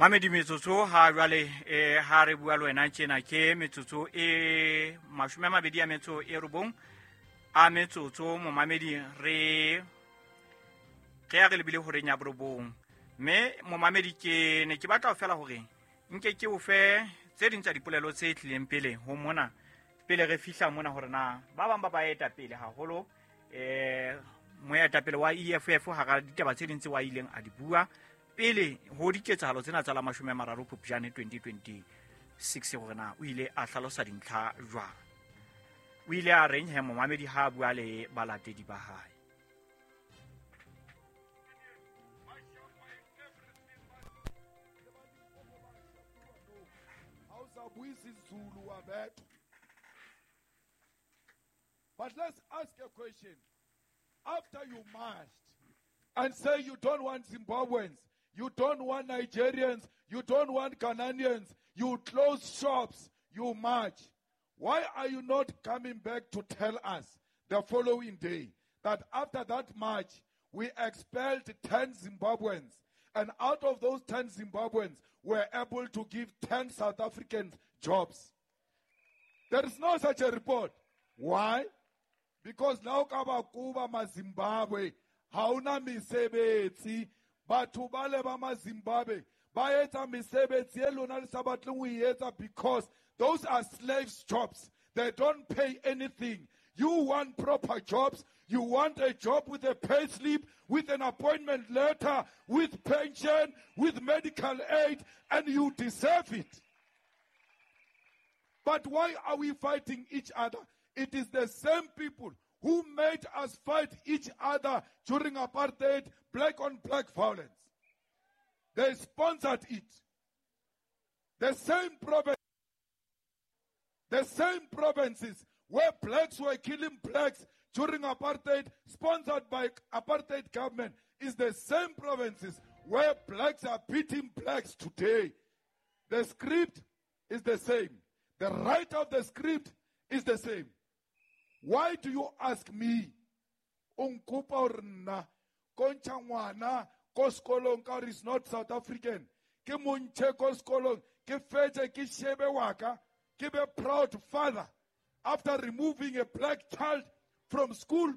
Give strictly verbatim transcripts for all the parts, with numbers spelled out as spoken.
Mamedi metsotso ha jwale eh ha re bua le wena tjena ke metsotso e mashome a mabedi a metso e robong a metsotso momamedi re re ya re lebile horeng ya borobong. Mme momamedi ke ne ke batla fela hore nke ke o fe tse ding tsa dipolelo tse tlileng pele ho mona pele re fihla mona hore na ba bang ba ba eta pele haholo eh moetapele wa E F F hara ditaba tse ding tse wa ileng a di bua pele ho diketsahalo tsena tsa la mashome a mararo Phupjane twenty twenty-six hore na o ile a hlalosa dintlha jwang. O ile a reng he momamedi ha a bua le balatedi ba hae. But let's ask a question. After you marched and say you don't want Zimbabweans, you don't want Nigerians, you don't want Ghanaians, you close shops, you march. Why are you not coming back to tell us the following day that after that march, we expelled ten Zimbabweans, and out of those ten Zimbabweans, we were able to give ten South Africans jobs? There is no such a report. Why? Because now kaba kuba ma Zimbabwe, hauna mesebetsi, batho ba le ba ma Zimbabwe, ba etsa mesebetsi e lona le sa batleng ho e etsa because those are slaves' jobs. They don't pay anything. You want proper jobs. You want a job with a pay slip, with an appointment letter, with pension, with medical aid, and you deserve it. But why are we fighting each other? It is the same people who made us fight each other during apartheid, black on black violence. They sponsored it. The same province, the same provinces where blacks were killing blacks during apartheid, sponsored by apartheid government, is the same provinces where blacks are beating blacks today. The script is the same. The right of the script is the same. Why do you ask me? O nkopa hore nna ko ntsha ngwana ko sekolong ka hore is not South African. Ke mo ntshe ko sekolong, ke fetse ke shebe wa ka, ke be proud father after removing a black child from school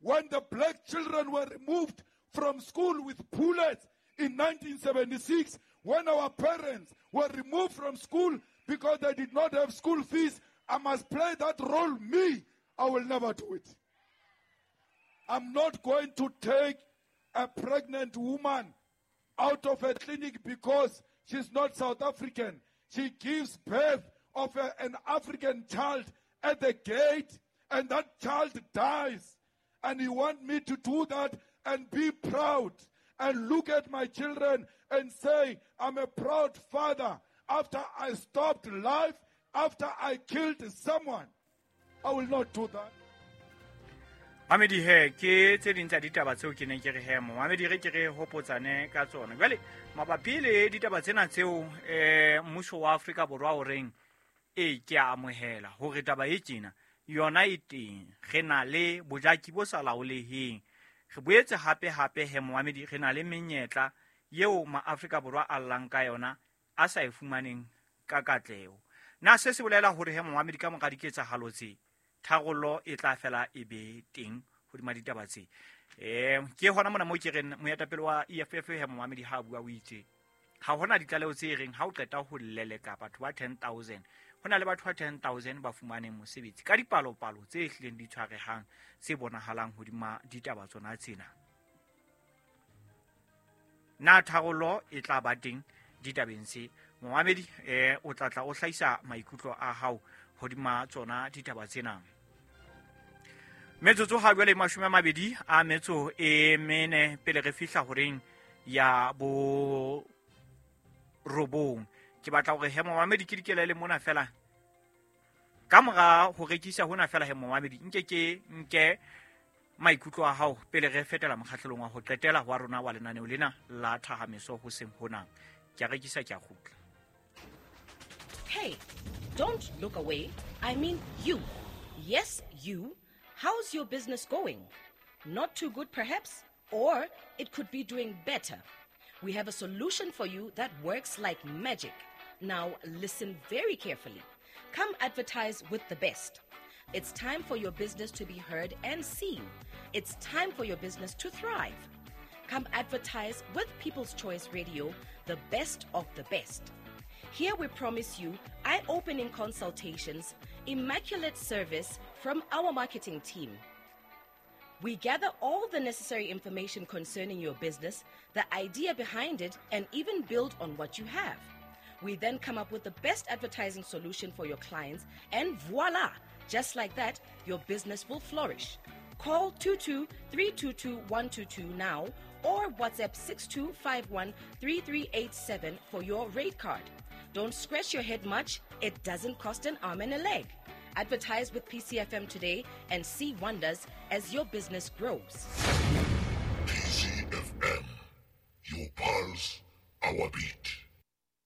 when the black children were removed from school with bullets in nineteen seventy-six, when our parents were removed from school because they did not have school fees. I must play that role, me. I will never do it. I'm not going to take a pregnant woman out of a clinic because she's not South African. She gives birth of a, an African child at the gate, and that child dies. And you want me to do that and be proud and look at my children and say, I'm a proud father after I stopped life, after I killed someone. I will not do that. Mamedi he ke tse ding tsa ditaba tseo ke neng ke re he mo mamedi re ke re hopotsane ka tsona. Jwale mabapi le ditaba tsena tseo eh mmuso wa Afrika Borwa o reng e ke a amohela hore taba e tjena yona e teng, re na le bojaki bo sa laoleheng. Re boetse hape hape he momamedi re na le menyetla yeo ma Afrika Borwa a llang ka yona a sa e fumaneng ka katleho. Na se se bolela hore he momamedi ka mora diketsahalo tse tharollo e tla fela e be teng hodima ditaba tse. Eh ke hona mona mo ke reng moetapele wa E F F he momamedi ha bua o itse ha hona ditlaleho tse reng ha o qeta ho leleka batho ba ten thousand hona le batho ba ten thousand ba fumaneng mosebetsi ka dipalopalo tse hlileng di tshwarehang tse bonahalang hodima ditaba tsona tsena. Na tharollo e tla ba teng ditabeng tse? Momamedi eh o tla tla o hlahisa maikutlo a hao hodima tsona ditaba tsena. Metsotso ha jwale mashome a mabedi a metso e mene pele re fihla horeng ya bo robong. Ke batla hore he momamedi ke dikela le mona fela ka mora ho rekisa hona fela he momamedi nke ke nke maikutlo a hao pele re fetela mokgahlelong wa ho qetela wa rona wa lenaneo lena la Thahameso hoseng hona. Ke a rekisa ke a kgutla. Hey, don't look away. I mean you. Yes, you. How's your business going? Not too good, perhaps? Or it could be doing better. We have a solution for you that works like magic. Now listen very carefully. Come advertise with the best. It's time for your business to be heard and seen. It's time for your business to thrive. Come advertise with People's Choice Radio, the best of the best. Here we promise you eye-opening consultations, immaculate service from our marketing team. We gather all the necessary information concerning your business, the idea behind it, and even build on what you have. We then come up with the best advertising solution for your clients, and voila! Just like that, your business will flourish. Call two two three two two one two two now or WhatsApp six two five one three three eight seven for your rate card. Don't scratch your head much. It doesn't cost an arm and a leg. Advertise with P C F M today and see wonders as your business grows. P C F M, your pulse, our beat.